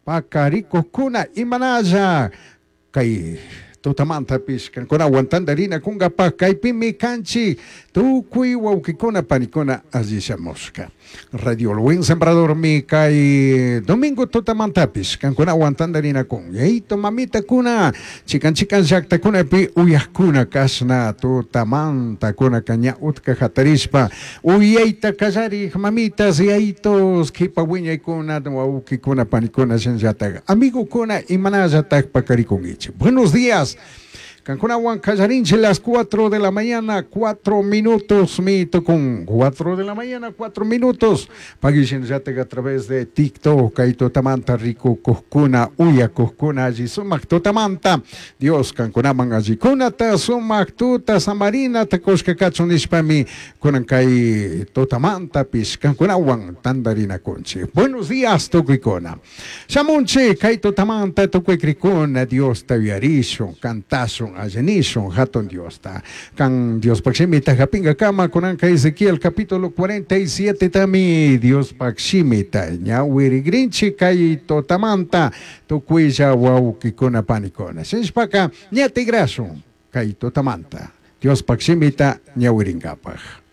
Pakarikukkuna imanalla kay tutamantapish kankunawan tantarinakunkapak kaypimi kanchik tukuy wawkikuna panikuna alli shamushka. Radio El Buen Sembradormi kay domingo tutamantapish kankunawan tantarinakun. Yayito mamitakuna chikan chikan llaktakunapi uyakkuna kashna tutamantakuna ña utka hatarishpa uyayta kallarik mamitas yayitos kipa wiñaykuna wawkikuna panikuna shinallatak amigokuna imanallatak pakarikunkichik. Buenos días. Kankunawan kallarinchik las 4 de la mañana, 4 minutos mi tukun. 4 de la mañana, 4 minutos. Pagishinllatak a través de TikTok, kay tutamanta rikukukkuna, uyakukkuna alli sumak tutamanta. Dios kankunaman allikunata sumak tuta samarinata kushka kachun nishpami kunan kay tutamantapish kankunawan tantarinakunchik. Buenos días tukuykuna. Shamunchik kay tutamanta tukuy krikuna Diosta uyarishun, kantashun, allanishun hatun Diosta. Kan Diospaj shimita hapinkakama kunanka Ezequiel capítulo 47 tami Diospaj shimita ñawirigrinchik kay tutamanta tukuylla wawkikuna panikuna. Shinashpaka ña tigrashun kay tutamanta Diospaj shimita ñawirinkapaj.